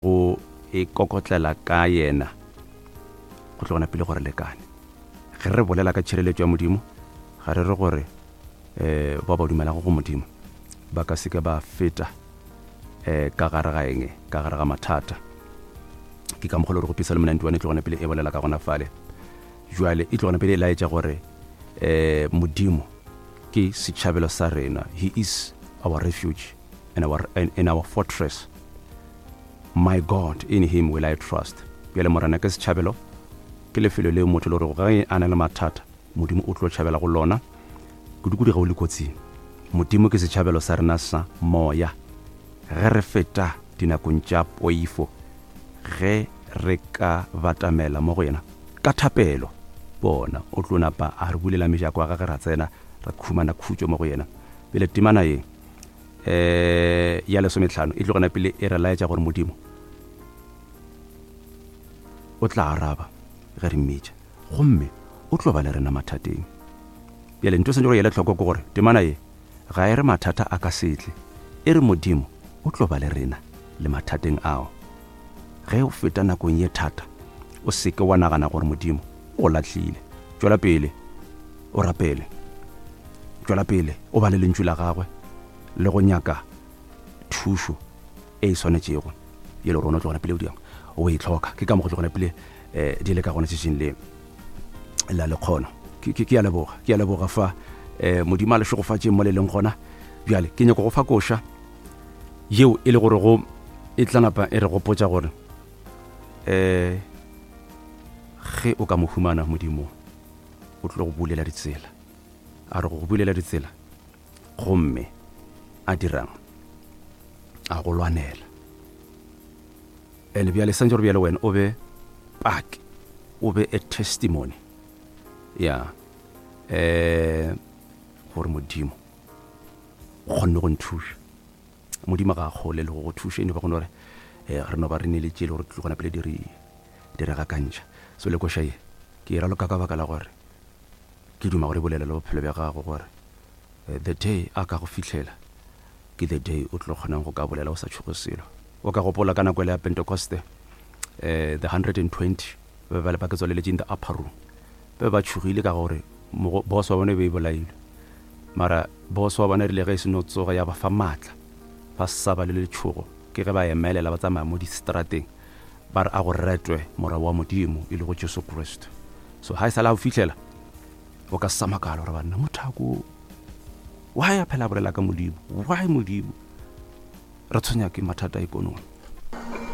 Go e kokotlela ka yena go tlo gona pele gore lekane. Ge re bolela ka tšhireletšo ya Modimo, ga re re gore um bao ba dumelago go Modimo ba ka seke ba feta um ka gare ga eng, ka gare ga mathata. Ke ka mokgwa le gore go Psalm 91 e tlo gona pele e bolela ka gona fale. Jwale e tlo gona pele e laetša gore um Modimo ke setšhabelo sa rena. He is our refuge and our, and, and our fortress. My God, in him will I trust. Bjale Morena ke setšhabelo, ke lefelo leo motho le gore ge a na le mathata, Modimo o tlo tšhabela go lona, kudu-kudu ge o le kotsing. Modimo ke setšhabelo sa rena sa moya. Ge re feta dinakong tša poifo, ge re ka batamela mo go yena ka thapelo, bona, o tlo napa a re bulela mejako ya gage ra tsena, ra khumana khutšo mo go yena. Bjale temana ye eh ya lesometlhano e tlogana pele e re laetša gore modimo o tla araba ge re mmitša gomme o tlo ba le rena mathateng bjale ntho e santse go ele tlhoko ke gore temana ye ga e re mathata a ka setle e re modimo o tlo ba le rena le mathateng ao ge o feta nakong ye thata o seke wa nagana gore modimo o go lahlile tšwela pele o rapele tšwela pele o bale lentšu la gagwe le go nyaka thušo e e swanetšego ye le rona tlogona pele o diang o e tlhoka ke ka mo go tlogona pele um di le ka gona tšatšing le la lekgono ke a leboga ke a leboga fa um modimo a le šegofatšeng mo le leng gona bjale ke nyako go fa koša yeo e le gore go e tla napa e re gopotša gore um ge o ka mo humana modimo o tlo go bulela ditsela a re go go bulela ditsela gomme a dirang a go lwanela and bjale santse gore bjale wena o be paki o be a testimony ya um gore modimo o kgonne go nthuša modimo ga a kgole le go go thuša eno ba gone gore um re no ba re neletše le gore tlo gona pele di re di re gakantšha so le koša ye ke e raloka ka baka la gore ke duma gore e bolele le bophelo bja gago gore eh, the day a ka go fihlela ke the day o tlo kgonang go ka bolela o sa tšhoge selo o ka gopola ka nako ele ya pentecoste eh, the 120 ba ba le ba ke tswaleletše in the upper room ba ba tšhogile ka gore boss wa bone e be e bolailwe mara boss wa bona e rile ge e se no tsoga ya ba fa maatla ba sa ba le letšhogo ke ge ba emelela ba tsamaya mo distrateng ba re a go retwe morwa wa modimo e lego jesu kriste so ga e sa le a o fitlhela o ka sa makala gore banna mothako why a phela a bolela ka modimo why modimo re tshwenya ke mathata a ikonomi